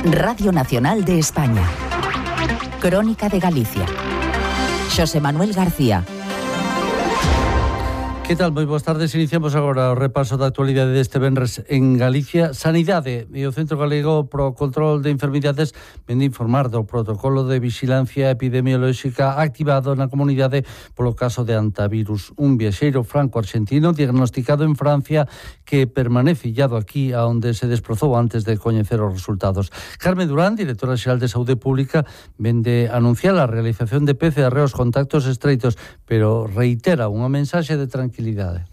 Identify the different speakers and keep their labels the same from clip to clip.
Speaker 1: Radio Nacional de España. Crónica de Galicia. Xosé Manuel García.
Speaker 2: Que tal? Moi boas tardes. Iniciamos agora o repaso da actualidade deste venres en Galicia. Sanidade e o Centro Galego pro Control de Enfermidades ven de informar do protocolo de vixilancia epidemiolóxica activado na comunidade polo caso de hantavirus. Un viaxeiro franco-argentino diagnosticado en Francia que permanece illado aquí a onde se desprozou antes de coñecer os resultados. Carmen Durán, directora xeral de Saúde Pública, ven de anunciar a realización de PCR aos contactos estreitos, pero reitera unha mensaxe de tranquilidade.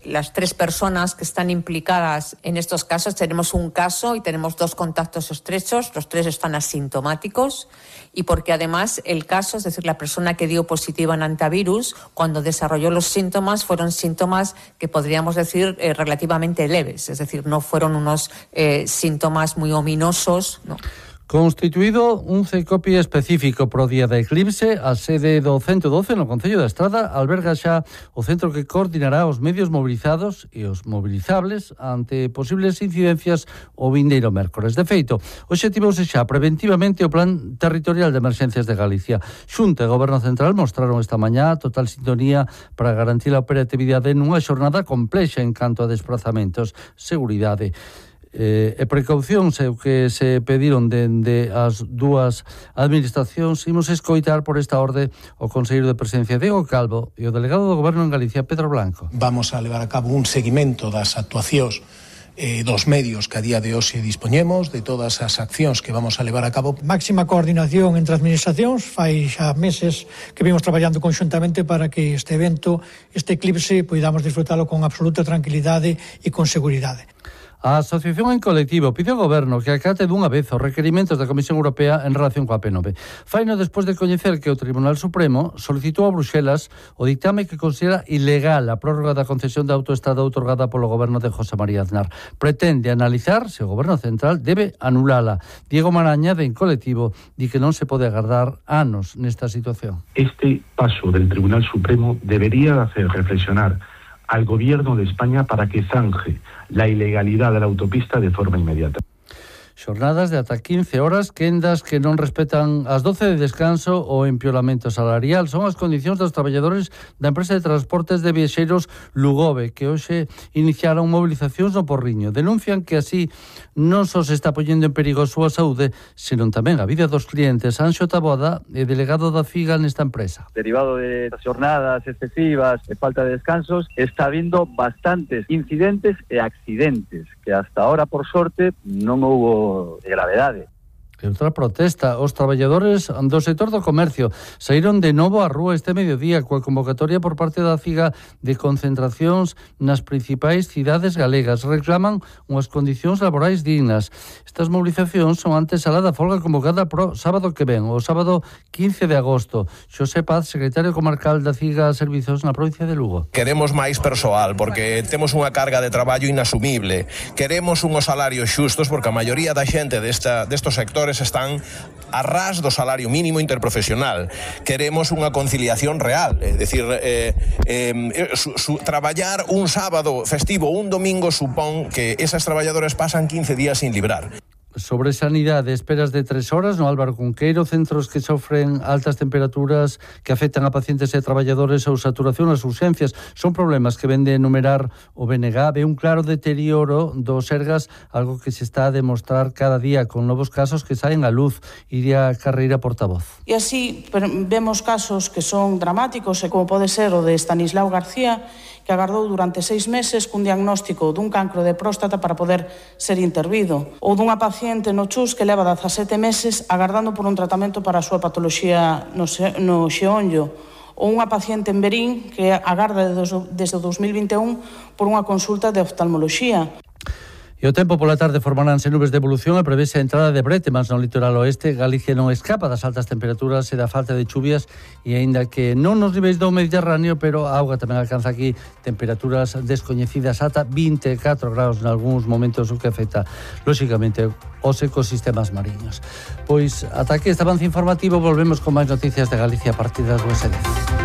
Speaker 3: Las 3 personas que están implicadas en estos casos, tenemos un caso y tenemos 2 contactos estrechos, los 3 están asintomáticos y porque además el caso, es decir, la persona que dio positiva en hantavirus, cuando desarrolló los síntomas, fueron síntomas que podríamos decir relativamente leves, es decir, no fueron unos síntomas muy ominosos, no.
Speaker 2: Constituído un CECOPI específico pro día da eclipse, a sede do 112 no Concello da Estrada alberga xa o centro que coordinará os medios mobilizados e os mobilizables ante posibles incidencias o vindeiro mércores. De feito, obxectivouse xa preventivamente o Plan Territorial de Emerxencias de Galicia. Xunta e Goberno Central mostraron esta mañá total sintonía para garantir a operatividade nunha xornada complexa en canto a desplazamentos, seguridade e precaucións é o que se pediron dende as dúas administracións. Imos escoitar por esta orde o conselleiro de Presidencia Diego Calvo e o delegado do Goberno en Galicia Pedro Blanco.
Speaker 4: Vamos a levar a cabo un seguimento das actuacións dos medios que a día de hoxe dispoñemos, de todas as accións que vamos a levar a cabo.
Speaker 5: Máxima coordinación entre administracións, fai xa meses que vimos traballando conxuntamente para que este evento, este eclipse, poidamos disfrutalo con absoluta tranquilidade e con seguridade.
Speaker 2: A Asociación en Colectivo pide ao Goberno que acate dunha vez os requerimentos da Comisión Europea en relación coa P9. Faino despois de coñecer que o Tribunal Supremo solicitou a Bruxelas o ditame que considera ilegal a prórroga da concesión de autoestrada outorgada polo Goberno de José María Aznar. Pretende analizar se o Goberno Central debe anulala. Diego Maraña, de En Colectivo, di que non se pode agardar anos nesta situación.
Speaker 6: Este paso del Tribunal Supremo debería hacer reflexionar al Gobierno de España para que zanje la ilegalidad de la autopista de forma inmediata.
Speaker 2: Xornadas de ata 15 horas, quendas que non respetan as 12 de descanso ou empeoramento salarial. Son as condicións dos traballadores da empresa de transportes de viaxeiros Lugove, que hoxe iniciaron movilizacións no Porriño. Denuncian que así non só se está poñendo en perigo a súa saúde, senón tamén a vida dos clientes. Anxo Taboada é delegado da FIGA nesta empresa.
Speaker 7: Derivado de xornadas excesivas e falta de descansos, está habiendo bastantes incidentes e accidentes que hasta ahora, por sorte, non houbo de gravedade.
Speaker 2: E outra protesta, os traballadores do sector do comercio saíron de novo á rúa este mediodía coa convocatoria por parte da FIGA de concentracións nas principais cidades galegas. Reclaman unhas condicións laborais dignas. Estas movilizacións son antesala da folga convocada pro sábado que ven, o sábado 15 de agosto. Xosé Paz, secretario comarcal da FIGA Servizos na provincia de Lugo.
Speaker 8: Queremos máis persoal porque temos unha carga de traballo inasumible. Queremos unhos salarios xustos porque a maioría da xente destos sectores están a ras do salario mínimo interprofesional. Queremos unha conciliación real, é dicir, traballar un sábado festivo, un domingo supón que esas traballadoras pasan 15 días sin librar.
Speaker 2: Sobre sanidade, esperas de 3 horas no Álvaro Cunqueiro, centros que sofren altas temperaturas que afectan a pacientes e traballadores ou saturación nas urxencias. Son problemas que ven de enumerar o BNG. Ve un claro deterioro dos Sergas, algo que se está a demostrar cada día con novos casos que saen á luz. Iria Carreira, portavoz.
Speaker 9: E así vemos casos que son dramáticos, como pode ser o de Estanislao García, que agardou durante 6 meses cun diagnóstico dun cancro de próstata para poder ser intervido, ou dunha paciente no Chus que leva 17 meses agardando por un tratamento para a súa patoloxía no xeonllo, ou unha paciente en Berín que agarda desde o 2021 por unha consulta de oftalmoloxía.
Speaker 2: E o tempo pola tarde formaránse nubes de evolución e prevese a entrada de brétemas no litoral oeste. Galicia non escapa das altas temperaturas e da falta de chuvias, e aínda que non nos niveis do Mediterráneo, pero a auga tamén alcanza aquí temperaturas descoñecidas ata 24 graus en algúns momentos, o que afecta lóxicamente os ecosistemas mariños. Pois ata aquí este avance informativo, volvemos con máis noticias de Galicia a partir das 2:10.